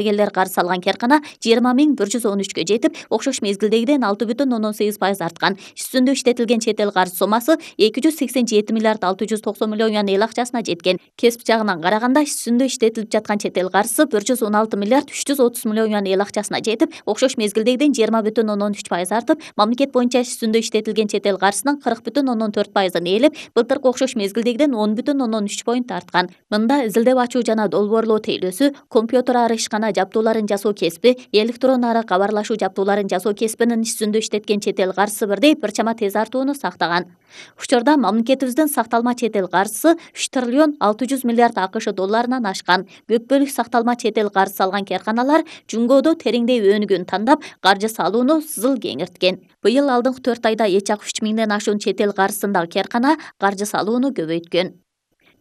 Эгелер карыз алган керкана 20.113кө жетип, окшош мезгилдегиден 6,8% арткан. Үстүндө иштетилген чет эл карыз сомасы 287 миллиард 690 миллион юан эл акчасына жеткен. Кесип жагынан караганда үстүндө иштетилип жаткан чет эл карызы 116 миллиард 330 миллион юан эл акчасына жетип, окшош мезгилдегиден 20,13% артып, мамлекет боюнча үстүндө иштетилген чет эл карызынын 40,4%ын ээлеп, былтыркы окшош мезгилдегиден 10,3 поинт арткан. Мында изилдеп ачуу жана долбоорлоо тейлөөсү, компьютер ары ишкана жабдууларын жасоо кесиби, электрон ары кабарлашуу жабдууларын жасоо кесибинин үстүндө иштеткен чет эл карызы бирдей бир чама тез артууну сактаган. Учурда мамлекетибиздин сакталма чет эл карызы 3 триллион 600 миллиард АКШ долларынан ашкан. Көп бөлүк сакталма чет эл карыз алган керканалар жумгоодо тереңдей өнүгүүнү тандап, каржы салууну сызыл кеңирткен. Быйыл алдыңкы 4 айда эч ак 3 миңден ашуун чет эл карызындагы керкана каржы салууну көбөйткөн.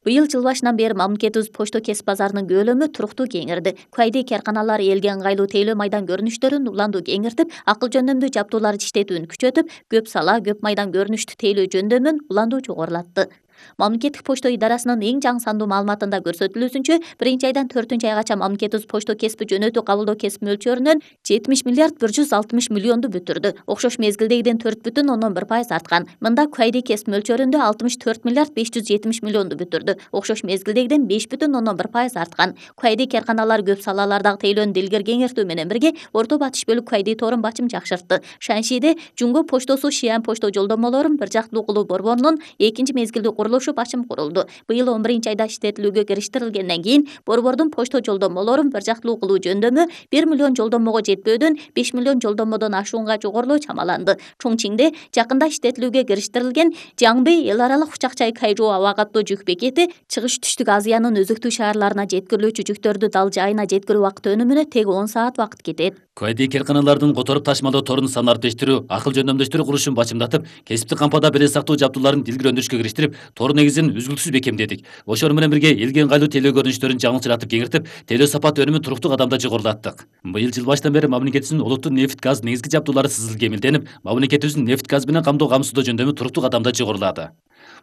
Быйыл жыл башынан бери мамлекетибиз почто кесип базарынын көлөмү туруктуу кеңирди. Кайдый керканалар элге ыңгайлуу тейлөө майдан көрүнүштөрүн уланду кеңиртип, акыл жөндөмдүү жабдууларды иштетүүнү күчөтүп, көп сала, көп майдан көрүнүштүү тейлөө жөндөмүн уланду жогорулатты. Мамлекеттик почто идарасынын эң жаңы сандуу маалыматында көрсөтүлүүсүнчө, 1-айдан 4-айгача мамлекетибиз почто кесиби жөнөтүү кабылдоо кесип мөлчөрүнөн 70 миллиард 160 миллионду бүтүрдү. Окшош мезгилдегиден 4,1% арткан. Мында кайдый кесип мөлчөрүндө 64 миллиард 570 миллионду бүтүрдү. Окшош мезгилдегиден 5,1% арткан. Кайдый керканалар көп салалардагы тейлөөнү илгери кеңиртүү менен бирге Орто Батыш бөлүк кайдый торун бачым жакшыртты. Шаншиде Жумго поштосу Шиан почто жолдомолорун бир жактылуу кылуу борборунун экинчи мезгилдүү курулушу бачым курулду. Быйыл 11-айда иштетилүүгө кириштирилгенден кийин борбордун почто жолдомолорун бир жактылуу кылуу жөндөмү 1 миллион жолдомого жетпөөдөн 5 миллион жолдомодон ашуунга жогорулоо чамаланды. Чоңчиңде жакында иштетилүүгө кириштирилген Жаңбей эл аралык Учакчай Кайжоо аба каттоо жүк бекети чыгыш түштүк Азиянын өзүктүү шаарларына жеткирилүүчү жүктөрдү дал жайына жеткирүү убакыты өнүмүнө тег 10 саат убакыт кетет. Кайдый керканалардын которуп ташмалоо торун санын арттыруу, акыл жөндөмдөштүрүү курулушун бачымдатып, кесиптик кампада беле сактоо жабдууларын илгери өндүрүшкө кириштирип, тор негизин үзгүлтүсүз бекемдедик. Ошол менен бирге элге ыңгайлуу тейлөө көрүнүштөрүн жаңылчыратып кеңиртип, тейлөө сапат өнүмүн туруктуу кадамда жогорулаттык. Быйыл жыл башынан бери мамлекетибиздин олуттуу нефть газ негизги жабдуулары сызыл кемилденип, мамлекетибиздин нефть газ менен камсыздоо жөндөмү туруктуу кадамда жогорулады.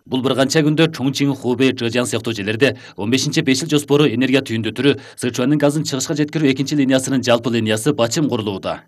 Бул бир канча күндө Чоңчиң, Хубэй, Чжэжьян сыяктуу жерлерде 15-5 жыл жоспору энергия түйүндү Сычуандын газын чыгышка жеткирүү экинчи линиясынын жалпы линиясы бачым курулууда.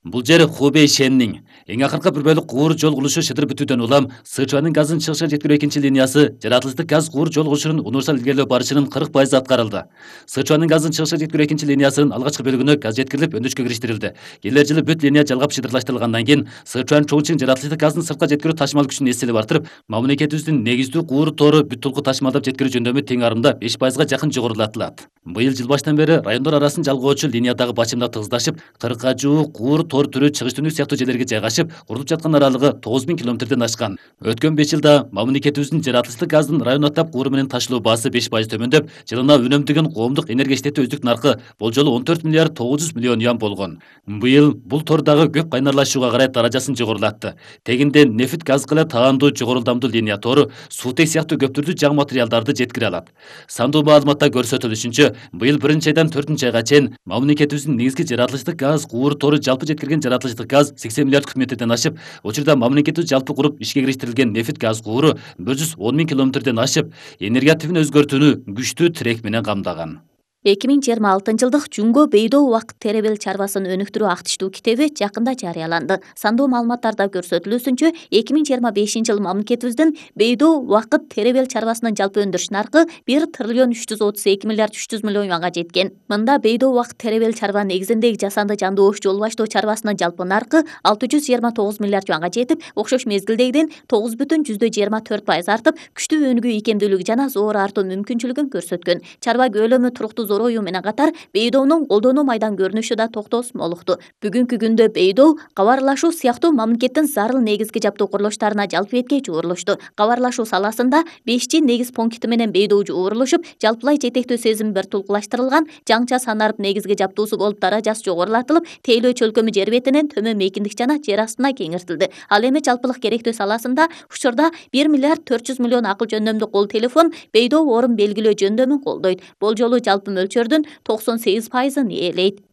Бул жер Хубэй Шеннин эң акыркы бир бөлүк куур жол курулушу шыдыр бүтүүдөн улам Сычуандын газын чыгышка жеткирүү экинчи линиясы жаратылыштык газ куур жол курулушунун универсал илгерилөө барышынын 40% аткарылды. Сычуандын газын чыгышка жеткирүү экинчи линиясынын алгачкы бөлүгүнө газ жеткирилип өндүрүшкө кириштирилди. Келер жылы бүт линия жалгап шыдырлаштырылгандан кийин Сычуан Чоңчиң жаратылыштык газдын сыртка жеткирүү ташмал күчүн эстелеп артырып, мамлекетибиздин негиздүү куур тору бүт толку ташмалдап жеткирүү жөндөмү тең арымда 5%га жакын жогорулатылат. Быйыл жыл башынан бери райондор арасын жалгоочу линиядагы бачымда тыгыздашып, 40га жуuk куур тор түрү чыгыш түнүк сыяктуу жерлерге жайгашып, курулуп жаткан аралыгы 9000 километрден ашкан. Өткөн 5 жылда мамлекетибиздин жаратылыштык газдын район аттап кууру менен ташылуу баасы 5% төмөндөп, жылына үнөмдөгөн коомдук энергия иштетүү өздүк наркы болжолу 14 миллиард 900 миллион юан болгон. Быйыл бул тордагы көп кайнарлашууга карай даражасын жогорулатты. Тегинде нефть газ кыла таандуу жогору ылдамдуу линия тору суутек сыяктуу көп түрдүү жаң материалдарды жеткире алат. Сандуу маалыматта көрсөтүлүшүнчө, быйыл 1-айдан 4-айга чейин мамлекетибиздин негизги жаратылыштык газ куур тору жалпы жеткирген жаратылыштык газ 80 миллиард куб метрден ашып, учурда мамлекетибиз жалпы куруп ишке кириштирилген нефть газ кууру 110 000 километрден ашып, энергия типин өзгөртүүнү күчтүү тирек менен камдаган. 2026-жылдык Жумго Бейдоо убакыт теребел чарбасын өнүктүрүү актиштүү китеби жакында жарыяланды. Сандуу маалыматтарда көрсөтүлүүсүнчө, 2025-жыл мамлекетибиздин Бейдоо убакыт теребел чарбасынын жалпы өндүрүш наркы 1 триллион 332 миллиард 300 миллион юанга жеткен. Мында Бейдоо убакыт теребел чарба негизиндеги жасанды жандуу ош жол баштоо чарбасынын жалпы наркы 629 миллиард юанга жетип, окшош мезгилдегиден 9,24% артып, күчтүү өнүгүү ийкемдүүлүгү жана зоор артуу мүмкүнчүлүгүн көрсөткөн. Чарба көлөмү туруктуу зороюу менен катар Бейдоонун колдонуу майдан көрүнүшү да токтосуз молукту. Бүгүнкү күндө Бейдоо кабарлашуу сыяктуу мамлекеттин зарыл негизги жабдуу курулуштарына жалпы этке жуурулушту. Кабарлашуу саласында 5G негиз пункти менен Бейдоо жуурулушуп, жалпылай жетектөө сезим бир тулкулаштырылган жаңча санарып негизги жабдуусу болуп даражасы жогорулатылып, тейлөө чөлкөмү жер бетинен төмөн мейкиндик жана жер астына кеңиртилди. Ал эми жалпылык керектөө саласында учурда 1 миллиард 400 миллион акыл жөндөмдүү кол телефон Бейдоо орун белгилөө жөндөмүн колдойт. Болжолу жалпы мөлчөрдүн 98%ын ээлейт.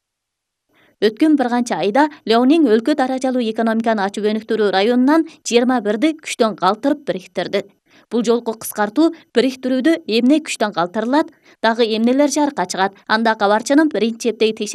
Өткөн бир канча айда Леонин өлкө даражалуу экономиканы ачып өнүктүрүү районунан 21 күчтөн калтырып бириктирди. Бул жолку кыскартуу бириктирүүдө эмне күчтөн калтырылат, дагы эмнелер жарыкка чыгат? Анда кабарчынын биринчи чептеги